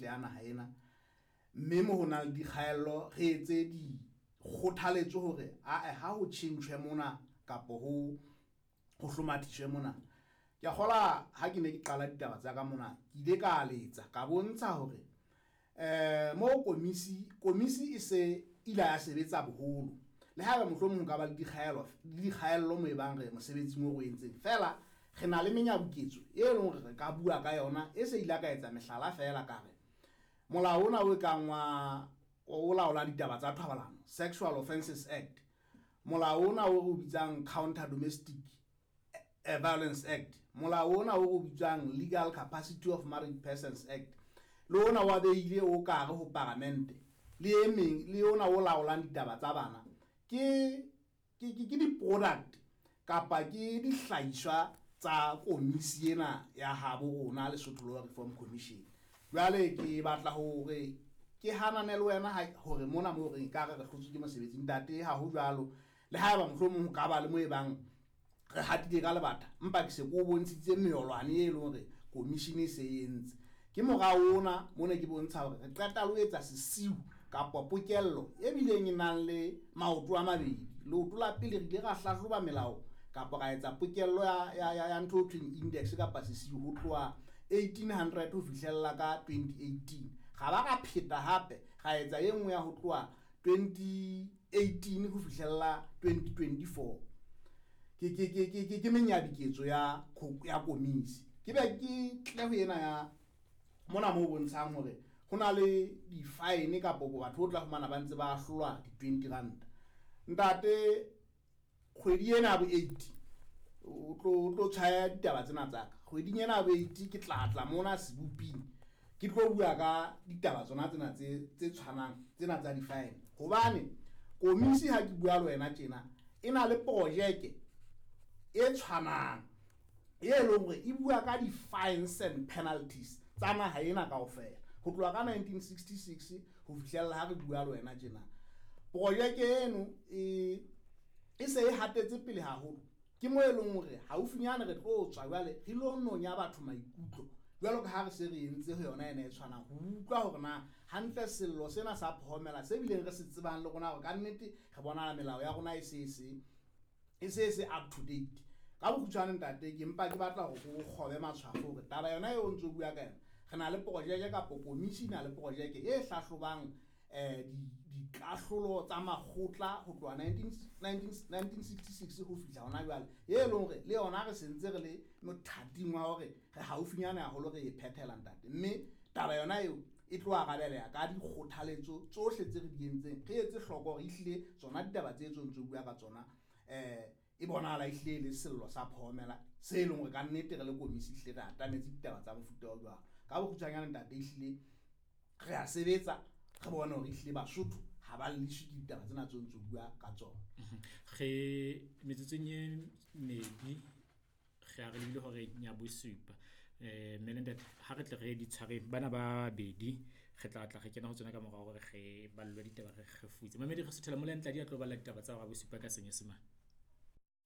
ntle ya naha ena, mme mo ho nang le dikgaello re etse dikgothaletso hore ae ha ho tjhentjhwe mona kapo ho hlomathiswe mona. Ke a kgola ha ke ne ke qala ditaba tsa ka mona, ke ile ka letsa ka bontsha hore mo komisi e se ile ya sebetsa boholo, le haeba mohlomong ho ka ba le dikgaello mo e bang re mosebetsing o re entseng, fela re na le menyabuketso e leng hore re ka bua ka yona e se ile ka etsa mehlala fela ka re molao ona o kang wa o laola ditaba tsa thobalano, Sexual Offences Act, molao ona o re o bitsang Counter Domestic Violence Act, molao ona o re o bitsang Legal Capacity of Married Persons Act, le ona wa beile o ka re ho paramente, le e meng le ona o laolang ditaba tsa bana, ke di-product kapa ke dihlahiswa tsa komisi ena ya habo rona Lesotho Law Reform Commission. Jwale ke batla hore ke hanane le wena hore mona mo re ka re hlotswe ke mosebetsi, ntate, ha ho jwalo. Le haeba mohlomong ho ka ba le mo e bang re hatile ka lebata, empa ke se ko bontshitse meolwane e leng hore commission e se e entse. Ke morao ona mona ke bontsha hore re qeta le ho etsa sesiu kapa pokello e bileng e nang le maoto a mabedi. Leoto la pele re ile ra hlahloba melao kapa ra etsa pokello ya ntho e thweng index kapa sesiu ho tloha 1800 ho fihlella ka 2018. Ra ba ra pheta hape ra etsa e nngwe ya ho tloha 2018 ho fihlella 2024. Ke menyabiketso ya komisi. Ke be ke tle ho ena ya mona mo bontshang hore ho na le di-fine kapo batho o tla fumana ba ntse ba ahlolwa di-20 rand. Ntate, kgwedi ena ya bo 8 o tlo tshwaya ditaba tsena tsa ka. Kgweding ena ya bo 8 ke tla tla mona seboping ke tlo bua ka ditaba tsona tsena tse tshwanang tsena tsa di-fine, hobane komisi ha ke bua le wena tjena e na le projeke e tshwanang e leng hore e bua ka di-fines and penalties tsa naha ena kaofela ho tloha ka 1966 ho fihlella ha re bua le wena tjena. Projeke eno e se e hatetse pele haholo, ke mo e leng hore haufinyane re tlo tswa jwale re lo nonya batho maikutlo jwalo ka ha re se re entse ho yona ena e tshwanang, ho utlwa hore na hantle sello sena sa phomela se bileng re se tsebang le rona hore ka nnete re bona melao ya rona e se up to date. Ka bokgutshwane ntate, ke mpa ke batla hore o kgobe matshwafo hore taba yona eo ntso bua ka yona, re na le projeke kapa komisi e na le projeke e hlahlobang dikahlolo tsa makgotla ho tloha 1966 ho fihla hona jwale, e leng hore le yona re sentse re le mothating wa hore re haufinyane haholo re e phethela ntate. Mme taba yona eo e tlo arabeleha ka dikgothaletso tsohle tse re di entseng, re etse hloko hore ehlile tsona ditaba tse ntso bua ka tsona e bonahala ehlile le sello sa phomela se leng hore ka nnete re le komisi ehlile re atametse ditaba tsa mofuta o jwalo. Ka bokgutshwanyane ntate, ehlile re a sebetsa re bone hore ehlile Basotho ha ba lleswe ke ditaba tsena tse ntso bua ka tsona. Re metsotsong e medi re a re lebile hore nya bosupa. Mme le ntate, ha re tle re di tshwareng bana ba babedi, re tla tla re kena ho tsona ka morao hore re ballwe ditaba re kgefutse. Mamedi re suthela mola Ntladi a tlo balla ditaba tsa hora bosupa ka Senyesemane.